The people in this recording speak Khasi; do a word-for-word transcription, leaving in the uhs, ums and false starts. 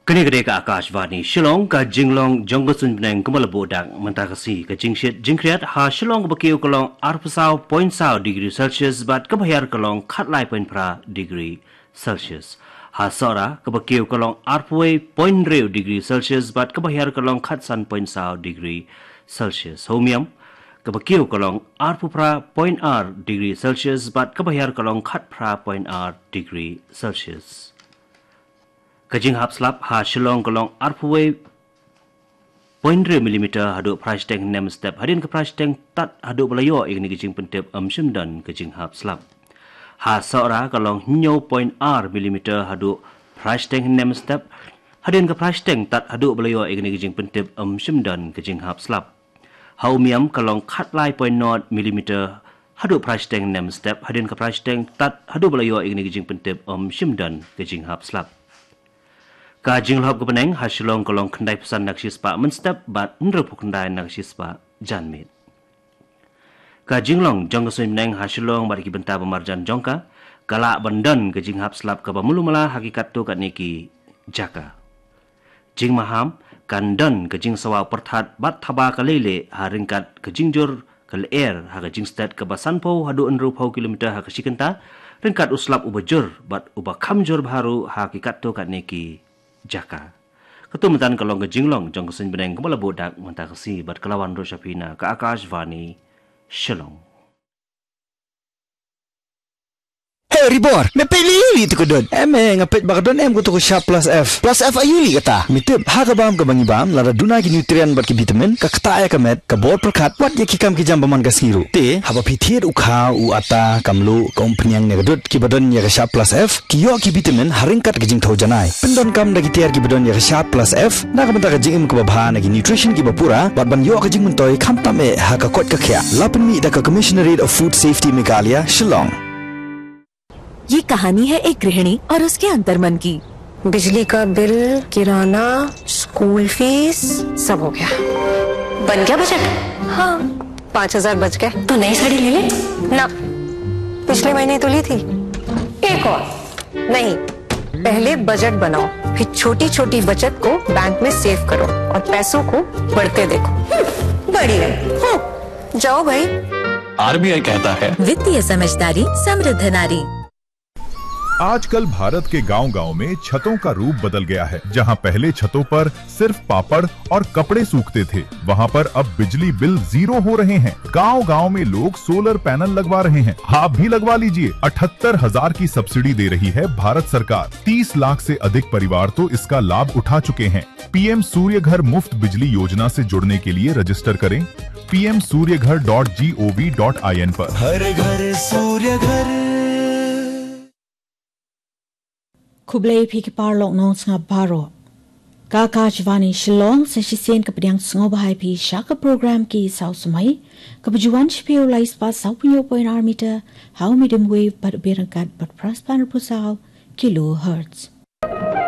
Kane ka dei ka Akashvani Shillong. Ka jinglong jong ka suiñ bneng kaba la buh dak mynta ka sngi. Ka jingshit jingkhriat ha Shillong kaba kiew ka long arphew saw point saw degree Celsius bad kaba hiar ka long khatlai point phra degree Celsius. Ha Sohra kaba kiew ka long arphew wei point hynriew degree Celsius bad kaba hiar ka long khatsan point saw degree Celsius. Ha Umiam kaba kiew ka long arphew phra point ar degree Celsius bad kaba hiar ka long khatphra point ar degree Celsius. Ka jinghap slap ha Shillong ka long arphew wei point hynriew millimeter haduh phra shiteng hynne mynstep, hadien ka phra shiteng tad haduh ba la ïoh ïa kane ka jingpyntip ym shym don ka jinghap slap. Ha Sohra ka long hynñiew point ar millimeter haduh phra shiteng hynne mynstep, hadien ka phra shiteng tad haduh ba la ïoh ïa kane ka jingpyntip ym shym don ka jinghap slap. Ha Umiam ka long khatlai point nod millimeter haduh phra shiteng hynne mynstep, hadien ka phra shiteng tad haduh ba la ïoh ïa kane ka jingpyntip ym shym don ka jinghap slap. Ka jinglong ka bneng ha Shillong ka long khyndaiphew san na ka shispah mynstep bad hynriewphew khyndai na ka shispah janmiet. Ka jinglong jong ka suiñ bneng ha Shillong bad ki bynta ba marjan jong ka, ka lah ban don ka jinghap slap kaba malu mala ha ki katto katne ki jaka. Jingmaham, kan don ka jingsawa pyrthat bad thaba ka leilieh ha ryngkat ka jingjur ka lyer ha ka jingsted kaba sanphew haduh hynriewphew kilometer ha ka shi kynta, ryngkat u slap uba jur bad uba kham jur bha ruh ha ki katto katne ki jaka. Katto mynta ka long ka jinglong jong ka suiñ bneng kaba la buh dak mynta ka sngi bad ka la wan ruh sha phi na ka Akashvani Shillong. Hey Ribor, me peit lei lei tu ka don. Em eh, nga peit ba ka don em ka tu ka Sharp Plus F. Plus F aïu lei kata? Me tip, ha ka bam kaba ngi bam, lada duna ki nutrient bad ki vitamin, ka ktah ïa ka met, ka bor pyrkhat, wat ïa ki kam ki jam ba man ka sngi ruh. Te, haba phi thied u khaw, u atta, ka mluh, ka umphniang ne ka dud, kiba don ïa ka Sharp Plus F, ki ïoh ki vitamin, ha ryngkat ka jingthew janai. Pyndonkam da ki tiar kiba don ïa ka Sharp Plus F, na ka bynta ka jingim kaba bha na ki nutrition kiba pura, bad ban ïoh ka jingmyntoi khamtam eh ha ka koit ka khiah. La pynmih da ka Commissionerate of Food Safety Meghalaya, Shillong. ये कहानी है एक गृहिणी और उसके अंतर्मन की। बिजली का बिल, किराना, स्कूल फीस, सब हो गया। बन गया बजट? हाँ, पाँच हज़ार बच गए। तो नई साड़ी ले ले। ना, पिछले महीने ही तो ली थी। एक और। नहीं, पहले बजट बनाओ, फिर छोटी छोटी बचत को बैंक में सेव करो और पैसों को बढ़ते देखो। हम्म, बढ़िया। हम्म, जाओ भाई। आरबीआई कहता है, वित्तीय समझदारी, समृद्ध नारी। आजकल भारत के गांव-गांव में छतों का रूप बदल गया है। जहां पहले छतों पर सिर्फ पापड़ और कपड़े सूखते थे, वहां पर अब बिजली बिल ज़ीरो हो रहे हैं। गांव-गांव में लोग सोलर पैनल लगवा रहे हैं। आप भी लगवा लीजिए। अठहत्तर हज़ार की सब्सिडी दे रही है भारत सरकार। तीस लाख से अधिक परिवार तो इसका लाभ उठा चुके हैं। पीएम सूर्य घर मुफ्त बिजली योजना से जुड़ने के लिए रजिस्टर करें पीएम सूर्य घर डॉट जीओवी डॉट आईएन पर। हर घर सूर्य घर। Khublei phi ki paralok nongsngap baroh. Ka Akashvani Shillong, sa shisien ka pdiang sngewbha ïa phi sha ka program Ki Saw Samoi, kaba ju wan sha phi ha u lai spah sawphew hynñiew point ar meter ha u medium wave bad u beit ryngkat bad phra spah hynriewphew saw kilohertz.